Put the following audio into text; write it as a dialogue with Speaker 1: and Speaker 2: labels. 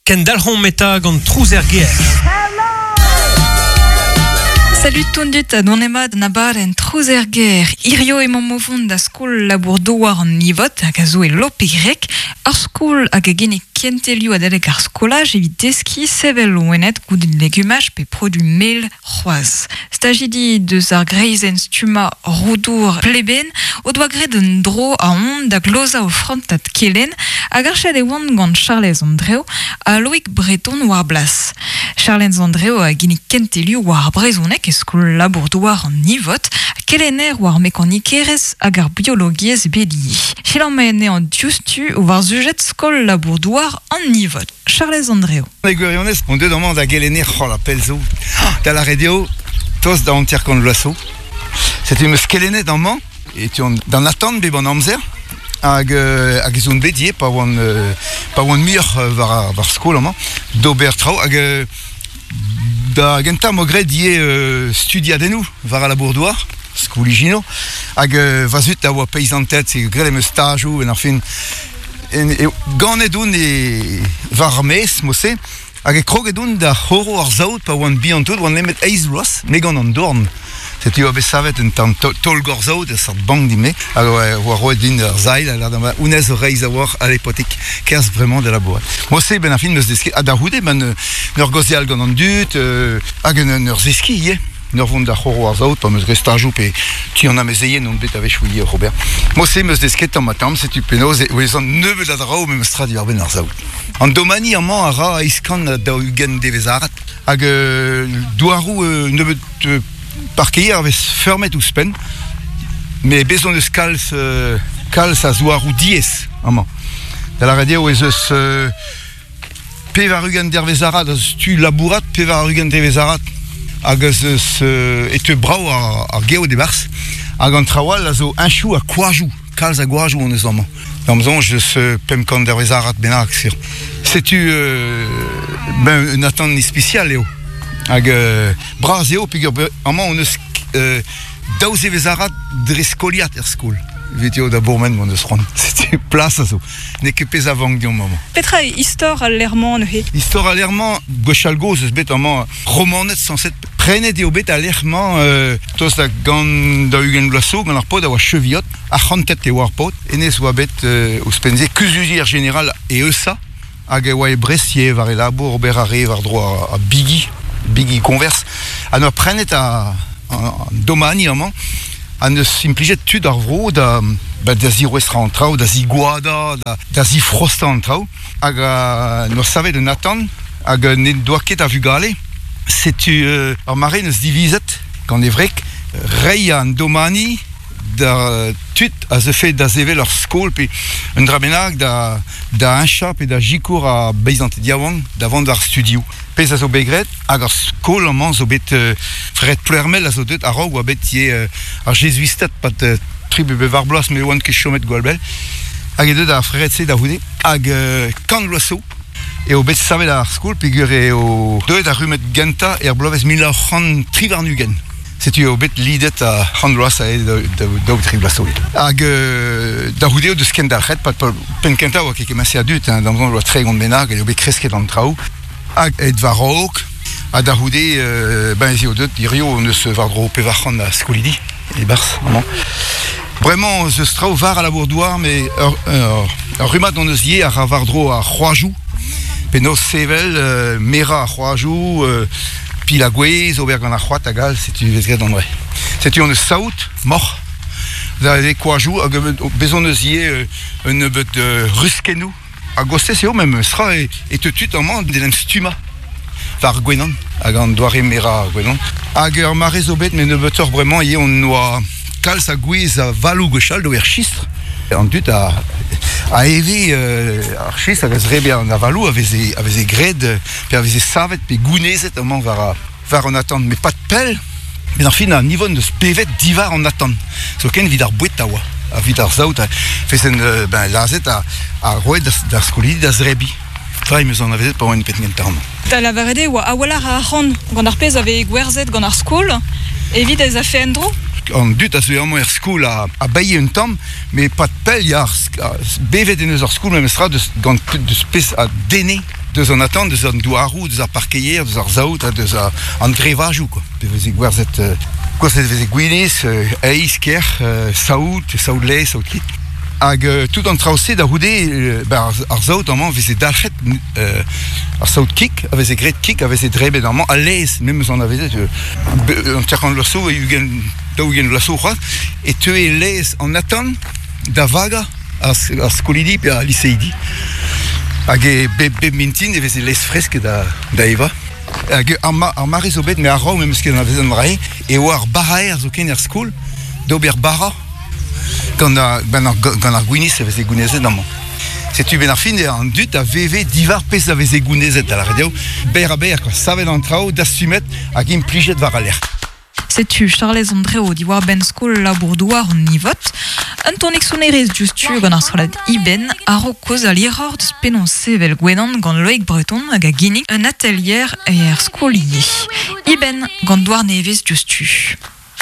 Speaker 1: Kendalc'homp eta gant trouz er gêr.
Speaker 2: Salut tondut ha donemat an abadenn Trouz er gêr. Hirio emañ o vont da skol labour-douar an Nivot hag a zo e Lopereg, ur skol hag a ginnig kentelioù adalek ar skolaj evit deskiñ sevel loened goude legumaj pe produ mel c'hoazh. Stajidi deus ar greizenn stummañ Roudour Pleben o doa graet un dro a-hont da glozañ o frantad kelenn hag archet e oant gant Charlez Andreu ha Loic Breton war blas. Charlez Andreu a ginnig kentelioù war ar brezhoneg e skol labour-douar an Nivot, kelenner war mekanikerezh hag ar biologiezh bet ivez. Selaomp anezhañ diouzhtu war sujed skol labour-douar an Nivot. Charlez Andreu.
Speaker 3: E gwirionez, on deuet amañ da gelenner c'holl ha pell zo, da lâret eo tost da 50 vloaz zo. Setu em eus kelennet amañ e teuan d'an atant bep an amzer hag hag ez on bet ivez pa oan pa oan muioc'h war ar skol amañ d'ober traoù hag da gentañ 'm boa graet ivez studiadennoù war al labour-douar, skol ijinour, hag va zud a oa peizanted, graet em eus stajoù en ar fin. Ganet on e war ar maez mod-se hag e kroget on da c'horo ar saout pa oan bihan-tout, oan nemet eizh vloaz, me gant an dorn. Setu oa bet savet un tamm taol-gorzaout, ur seurt bank din-me, hag oa roet din ur sailh, ha lâret honnezh zo reizh a-walc'h, allez paotrig, kerzh bremañ da labourat. Mod-se, benn ar fin, 'meus desket, ha da c'houde, ben, en ur gaozeal gant an dud, hag en ur zeskiñ ivez. En ur vont da c'horo ar saout pa 'm eus graet stajoù pe ti an amezeien on bet a-wechoù ivez oc'h ober. Mod-se 'm eus desket tamm-ha-tamm, setu penaos e ouezan nebeut a draoù memestra diwar-benn ar saout. An domani amañ a ra 840 devezh-arat hag douaroù nebeut parkeier a vez feurmet ouzhpenn met bez' hon eus kalz kalz a zouaroù diaes amañ. Da lâret eo ez eus 80 dervezh-arat a stu labourat, 80 devezh-arat hag eus eus e teu brav ar geot e-barzh. Hag an traoù all a zo heñchoù ha koajoù, kalz a goajoù hon eus amañ. D'am soñj eus 500 dervezh-arat bennak sur. Setu ben un atant ispisial eo. Hag bras eo peogwir amañ hon eus daou zevezh-arat dre skoliad er skol. Evit eo da bourmen m'hon eus c'hoant. Setu plas a zo. N'eo ket pezh a vank deomp amañ.
Speaker 2: Petra eo istor al lec'h-mañ neuze?
Speaker 3: Istor al lec'h-mañ, gwechall-gozh eus bet amañ Romaned sañset. Prenet eo bet al lec'h-mañ tost da gant 40 vloaz zo gant ar paotr a oa cheviot. Arc'hantet e oa ar paotr. Hennezh oa bet ouzhpenn-se kuzulier jeneral e Eusa hag e oa e Brest ivez war e labour, ober a rae war-dro ar bigi, bigi koñvers. Ha 'noa prenet an domani amañ ha 'neus implijet tud ar vro da ba da zirouestrañ an traoù, da zigoadañ, da, da zifrostañ an traoù. Hag 'noa savet un atant hag n'en doa ket a vugale. Setu ur mare 'neus divizet gant e wreg reiñ an domani da tud a zeufe da sevel ur skol pe un dra bennak da da heñchañ pe da sikour ar beizanted yaouank da vont war studioù. Pezh a zo bet graet hag ar skol amañ zo bet Fred Ploermel a zo deuet a-raok oa bet ivez ar jezuisted pad tri pe bevar bloaz me oan ket chomet gwall bell hag eo deuet ar frered-se da c'houde hag kant vloaz zo eo bet savet ar skol peogwir eo deuet ar rummad gentañ er bloavezh 1923. Setu eo bet lidet ar c'hant vloaz a daou tri bloaz zo. Hag da c'houde o deus kendalc'het, pad penn kentañ oa ket kement-se a dud, hein, d'am soñj oa 30 bennak, eo bet kresket an traoù. Hag aet war-raok, ha da c'houde, ben ez eo deuet hirio hon eus war-dro 400 a skolidi e-barzh amañ. Bremañ ez eus traoù war al labour-douar, met ur, ur, ur rummad hon eus ivez a ra war-dro ar c'hoajoù, penaos sevel, merañ ar c'hoajoù, Pil ha gwez, ober gant ar c'hoad hag all, setu vez graet an dra. Setu hon eus saout, moc'h, da eo koajoù hag bez hon eus ivez un nebeud ruskennoù. A-gostez eo memes tra e teu tud amañ d'en em stummañ war gwenan hag an doare merañ ar gwenan. Hag ur mare zo bet met nebeutoc'h bremañ ivez hon oa kalz a gwez a valoù gwechall d'ober chistr. An dud a, a eve ar chistr hag a zrebe an avaloù a veze, a veze graet pe a veze savet pe gounezet amañ war, war an atant. Met pas pell, met ar fin an Yvonne deus bevet diwar an atant. Zoken evit ar boued a oa, evit ar saout a vezen ben, lazhet ha, ha roet d'ar skolidi da zrebiñ. Tra em eus anavezet pa oan penn kentañ amañ.
Speaker 2: Da lavaret eo oa a-walc'h a arc'hant gant ar pezh a veze gwerzhet gant ar skol evit ez afe en-dro?
Speaker 3: An dud a zeu amañ er skol a, a baie un tamm, met pad pell ya, bevet en deus ar skol memestra deus, gant deus pezh a denne. Deus an atant, deus an douaroù, deus ar parkeier, deus ar saout ha deus an drevajoù quoi. Pe veze gwerzhet gwerzhet veze gwinizh, heiz, kerc'h, saout, saout laezh, saout kig. Hag tout an traoù-se da c'houde, ba ar saout amañ veze dalc'het ar saout kig a veze graet kig a veze drebet amañ al laezh memes anavezet 50 vloaz zo, 20 40 vloaz zo c'hoazh e teue laezh an atant da vagañ ar skolidi pe ar liseidi. Hag e bep, bep mintin e veze laezh fresk da, da evañ. Hag ar, ma, ar mare zo bet, me a-raok memes ket anavezet an dra-se, e oa ar baraer zoken er skol d'ober bara gant ar, gant ar, gant ar gwinizh e veze gounezet amañ. Setu benn ar fin an dud a veve diwar pezh a veze gounezet, da lâret eo, berr-ha-berr, quoi. Savet an traoù, dastumet hag implijet war al lec'h.
Speaker 2: Setu Charlez Andreo diwar-benn skol labour-douar an Nivot. Un tammig sonerezh diouzhtu gant ar strollad Iben a-raok kaozeal hiroc'h deus penaos sevel gwenan gant Loeic Breton hag a ginnig un atelier er skol ivez. Iben gant Douar-Nevez diouzhtu.